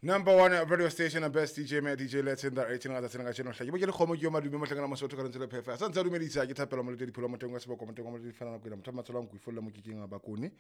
Number one radio station and best DJ me DJ Let's in that 18 ga tsena ka tšeno hle ke bo ke le kgomo ke yo madume mohlangana mosotho ka lentswe le phefa sa ntse a dumedisa ke thapelo molete dipholo moteng wa seboko moteng wa molete difana nako ena motho a matsholo a nkuifolla mo kikeng a bakone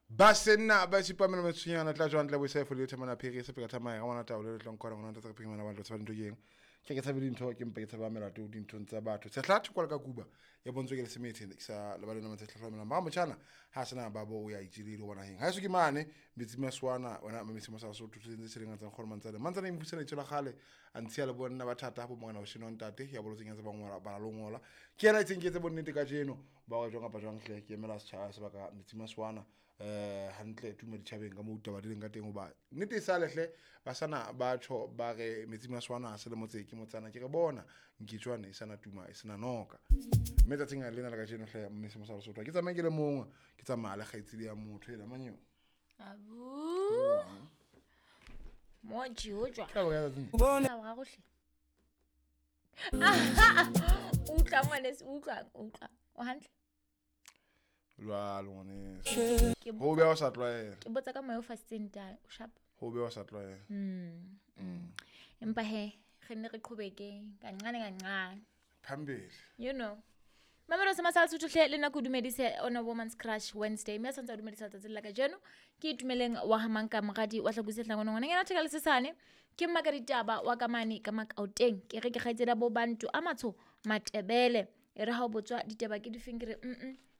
ba senna ba sipamela metshwenyana tla jwang tla boisa fo le thamana phiri se peka thamaya ga ngwana taolo le tlong kora ngwana tsa phiri ngwana ba tlo tshaba dintho ke eng ke ke tshabe dintho ke mpa ke tshaba melato dinthong tsa batho sehla thoko ka kuba ya bontswe ke le semethe ke sa lebale nama tse tlhotlhomelang ba motjhana ha sena ba bo o ya itjilile bona heng ha eso ke mane metsi maswana wena metsi masa so tutse tse tshileng tsa gore mantsane mantsane e mfusela itshela gale a ntshiya le bonna ba thata bo mongana o sheno ntate ya bolotseng ya tse ba ngola ba lo ngola ke ena itseng ke tse bonnete ka jeno ba wa jwang kapa jwang hle ke emela setjhaba sebaka metsi maswana hantle tuma ditjhabeng ka mo taba di leng ka teng hoba nnete e sale hle ba sana batho ba re metsi maswana a se le motse ke motsana ke re bona nkitshwane e sana tuma e sena noka mme tsatsing a lena la kajeno hle mme se mosalo sotho ke tsamaye ke le mongwe ke tsamaya le kgaitsedi ya motho ena manyeo abu moji ho jwa ka bona tsatsing bona ga gohle utlwa ngwaneso utlwa utlwa o hantle jwalo ngwaneso ho beha o sa tlwaela ke botsa ka moya o fasitseng tang o sharp ho beha o sa tlwaela empa he re nne re qhobeke kancane kancane phambili you know Mamelo se masala sotho hle le nako dumedise on a woman's crush Wednesday mme a santse a dumedisa letsatsi la kajeno ke itumeleng wa hamanka moradi wa hlakuse hlangwana ngwana ngena theka le sesane ke mmaka ditaba wa kamane ka makaoteng ke re ke kgaitsedi bo bantu a matsho matebele e re ha o botswa ditaba ke difeng ke re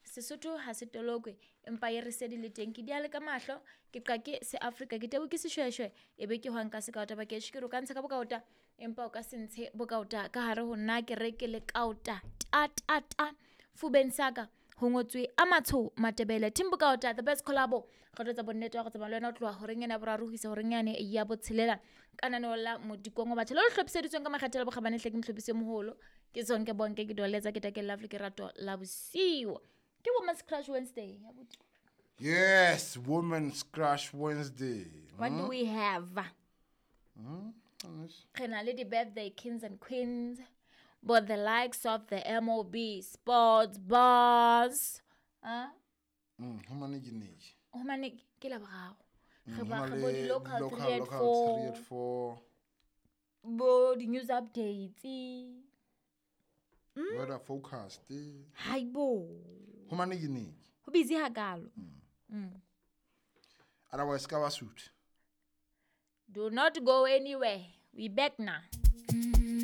Sesotho ha se tolokwe empa ye re sedi le teng ke diale ka mahlo ke qake se Afrika ke tebo ke seshweshwe e be ke hwang ka sekaota ba ke ke re o ka ntsha ka bokaota empa o ka se ntshe bokaota ka hare ho nna ke re ke le kaota ta ta ta fubeng saka ho ngotswe a matsho matebele team bokaota the best collabo re tlo tsa bonnete wa go tsamaya le wena o tloha horeng ena ya boraro ho isa horeng yane ya botshelela ka naneo la modikongo batjha le le hlophiseditsweng ka makgethe le bokgabane hle ke mohlopisi o moholo ke Zonke Bonke ke doletsa ke take lovely ke rato la bosiu ke Women's Crush Wednesday. Yes, Women's Crush Wednesday. What do we have? Re na le di-birthday kings and queens, but the likes of the MOB sports bars. Ho mane ke neke. Ho mane ke la boraro. Re ba re bo di-local 3 at 4. Bo di-news updates. Weather forecast. Haibo. Ho mane ke neke. Ho busy hakalo. Otherwise ka ba suit. Do not go anywhere. We back now.